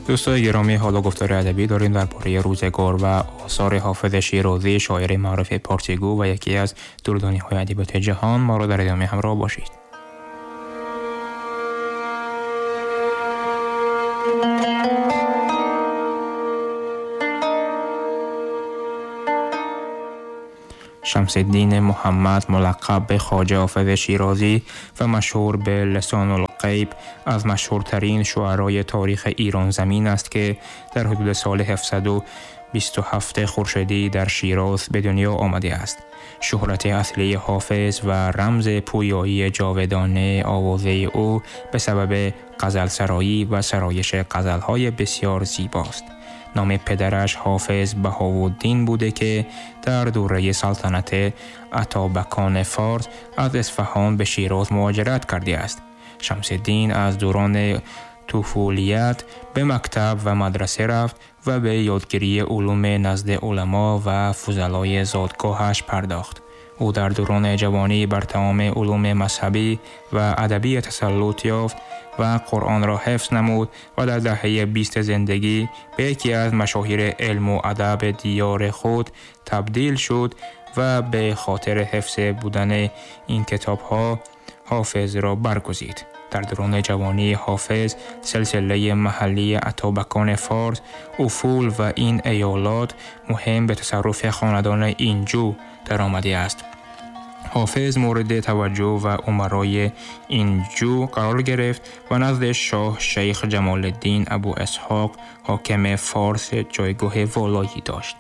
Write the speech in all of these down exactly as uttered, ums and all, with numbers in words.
دوستای گرامی، حالا گفتار ادبی داریم درباره روزگار و آثار حافظ شیرازی، شاعر معروف پارسیگو و یکی از دردانی‌های ادبیات جهان. ما را در ادامه همراه باشید. شمس الدین محمد ملقب به خواجه حافظ شیرازی و مشهور به لسان الغیب از مشهورترین شعرای تاریخ ایران زمین است که در حدود سال هفتصد و بیست و هفت خورشیدی در شیراز به دنیا آمده است. شهرت اصلی حافظ و رمز پویایی جاودانه آوازه او به سبب غزل سرایی و سرایش غزل‌های بسیار زیباست. نام پدرش حافظ بهاءالدین بوده که در دوره سلطنت اتابکان فارس از اصفهان به شیراز مهاجرت کرده است. شمس الدین از دوران طفولیت به مکتب و مدرسه رفت و به یادگیری علوم نزد علما و فضلای زادگاهش پرداخت. او در دوران جوانی بر تمام علوم مذهبی و ادبی تسلط یافت و قرآن را حفظ نمود و در دهه بیست زندگی به یکی از مشاهیر علم و ادب دیار خود تبدیل شد و به خاطر حفظ بودن این کتاب‌ها حافظ را برگزید. در دوران جوانی حافظ سلسله محلی اتابکان فارس، افول و این ایالات مهم به تصرف خاندان اینجو درآمده است. حافظ مورد توجه و امرای اینجو قرار گرفت و نزد شاه شیخ جمال الدین ابو اسحاق حاکم فارس جایگاه والایی داشت.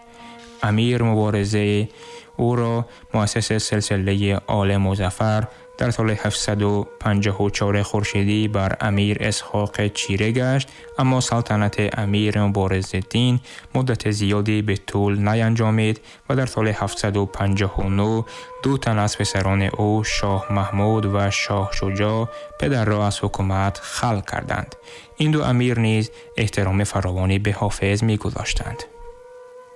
امیر مبارزه او را مؤسس سلسله آل مظفر در سال هفتصد و پنجاه و چهار خورشیدی بر امیر اسحاق چیره گشت، اما سلطنت امیر مبارزالدین مدت زیادی به طول نینجامید و در سال هفتصد و پنجاه و نه دو تن از پسران او، شاه محمود و شاه شجاع، پدر را از حکومت خلع کردند. این دو امیر نیز احترام فراوانی به حافظ می‌گذاشتند.